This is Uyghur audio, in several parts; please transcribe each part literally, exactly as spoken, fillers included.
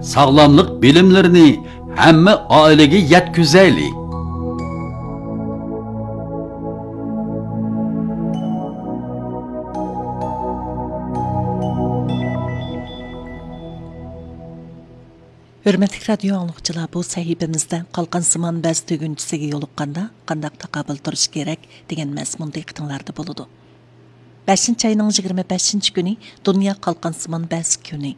ساغلاملىق بىلىملىرىنى ھەممە ئائىلىگە يەتكۈزەيلى. ھۆرمەتلىك رادىيو ئاڭلىغۇچىلار، بۇ سەھىپىمىزدە قالقانسىمان بەز تۈگۈنچىسىگە يولۇققاندا قانداق تاقابىل تۇرۇش كېرەك دېگەن مەزمۇن دىققىتىڭلاردا بولىدۇ. بەشىنچى ئاينىڭ يىگىرمە بەشىنچى كۈنى دۇنيا قالقانسىمان بەز كۈنى.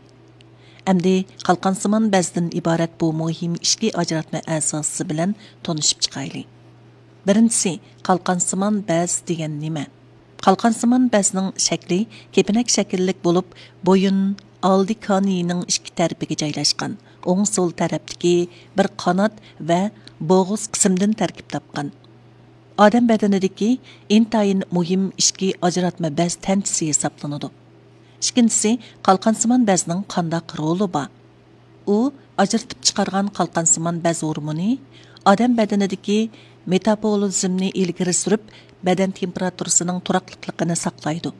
ئەمدى قالقانسىمان بەزدىن ئىبارەت بۇ مۇھىم ئىچكى ئاجراتما ئەزاسى بىلەن تونۇشۇپ چىقايلى. بىرىنچىسى، قالقانسىمان بەز دېگەن نېمە؟ قالقانسىمان بەزنىڭ شەكلى كېپىنەك شەكىللىك بولۇپ، بويۇن، ئالدى كانىيىنىڭ ئىككى تەرىپىگە جايلاشقان، ئوڭ سول تەرەپتىكى بىر قانات ۋە بوغۇز قىسىمدىن تەركىب تاپقان. ئادەم بەدىنىدىكى ئىنتايىن مۇھىم ئىچكى ئاجراتما بەز تەنچىسى ھېسابلىنىدۇ. ئىككىنچىسى، قالقانسىمان بەزنىڭ قانداق رولى بار؟ ئۇ ئاجرىتىپ چىقارغان قالقانسىمان بەز ھورمونى ئادەم بەدىنىدىكى مېتابولىزمنى ئىلگىرى سۈرۈپ، بەدەن تېمپېراتۇرىسىنىڭ تۇراقلىقلىقىنى ساقلايدۇ.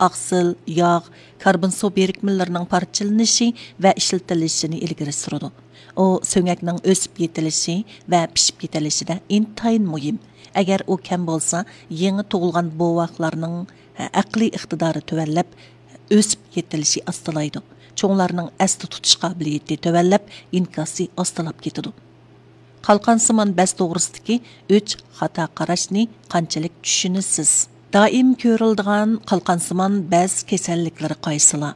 ئاقسىل، ياغ، كاربون سۇ بىرىكمىلىرىنىڭ پارچىلىنىشى ۋە ئىشلىتىلىشىنى ئىلگىرى سۈرىدۇ. ئۇ سۆڭەكنىڭ ئۆسۈپ يېتىلىشى ۋە پىشىپ يېتىلىشىدە ئىنتايىن مۇھىم. ئەگەر ئۇ كەم بولسا، يېڭى تۇغۇلغان بوۋاقلارنىڭ ئەقلىي ئىقتىدارى تۆۋەنلەپ، ئۆسۈپ يېتىلىشى ئاستىلايدۇ. چوڭلارنىڭ ئەستە تۇتۇش قابىلىيىتى تۆۋەنلەپ، ئىنكاسى ئاستىلاپ كېتىدۇ. قالقانسىمان بەز توغرىسىدىكى ئۈچ خاتا قاراشنى قانچىلىك چۈشىنىسىز؟ دائىم كۆرۈلىدىغان قالقانسىمان بەز كېسەللىكلىرى قايسىلار؟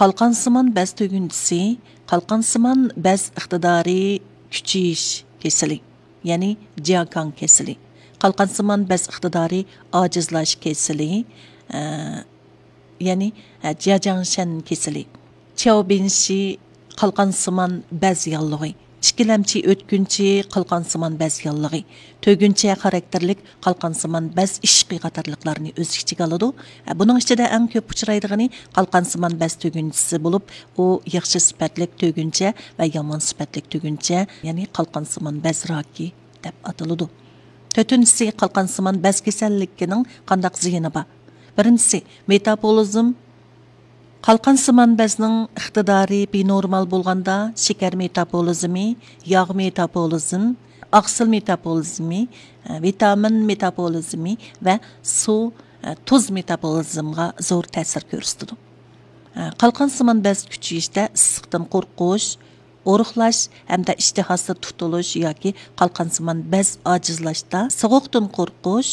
قالقانسىمان بەز تۈگۈنچىسى، قالقانسىمان بەز ئىقتىدارى كۈچىيىش كېسىلى، يەنى جياكاڭ كېسىلى. قالقانسىمان بەز ئىقتىدارى ئاجىزلاش كېسىلى، ئە، يەنى، ئە، جياجاڭشەن كېسىلى. چياۋبىنشى قالقانسىمان بەز ياللۇغى، ئىككىلەمچى ئۆتكۈنچى قالقانسىمان بەز ياللۇغى، تۈگۈنچە خاراكتېرلىك قالقانسىمان بەز ئىششىقى قاتارلىقلارنى ئۆز ئىچىگە ئالىدۇ. ئە، بۇنىڭ ئىچىدە ئەڭ كۆپ ئۇچرايدىغىنى قالقانسىمان بەز تۈگۈنچىسى بولۇپ، ئۇ ياخشى سۈپەتلىك تۈگۈنچە ۋە يامان سۈپەتلىك تۈگۈنچە، يەنى قالقانسىمان بەز راكى دەپ ئاتىلىدۇ. تۆتىنچىسى، قالقانسىمان بەز كېسەللىكىنىڭ قانداق زىيىنى بار؟ بىرىنچىسى، مېتابولىزم. قالقانسىمان بەزنىڭ ئىقتىدارى بىنورمال بولغاندا، شېكەر مېتابولىزمى، ياغ مېتابولىزم، ئاقسىل مېتابولىزمى، ۋىتامىن مېتابولىزمى ۋە سۇ، تۇز مېتابولىزمغا زور تەسىر كۆرسىتىدۇ. قالقانسىمان بەز كۈچىيىشتە ئىسسىقتىن قورقۇش، ئورۇقلاش ھەمدە ئىشتىھاسىز تۇتۇلۇش ياكى قالقانسىمان بەز ئاجىزلاشتا، سوغۇقتىن قورقۇش،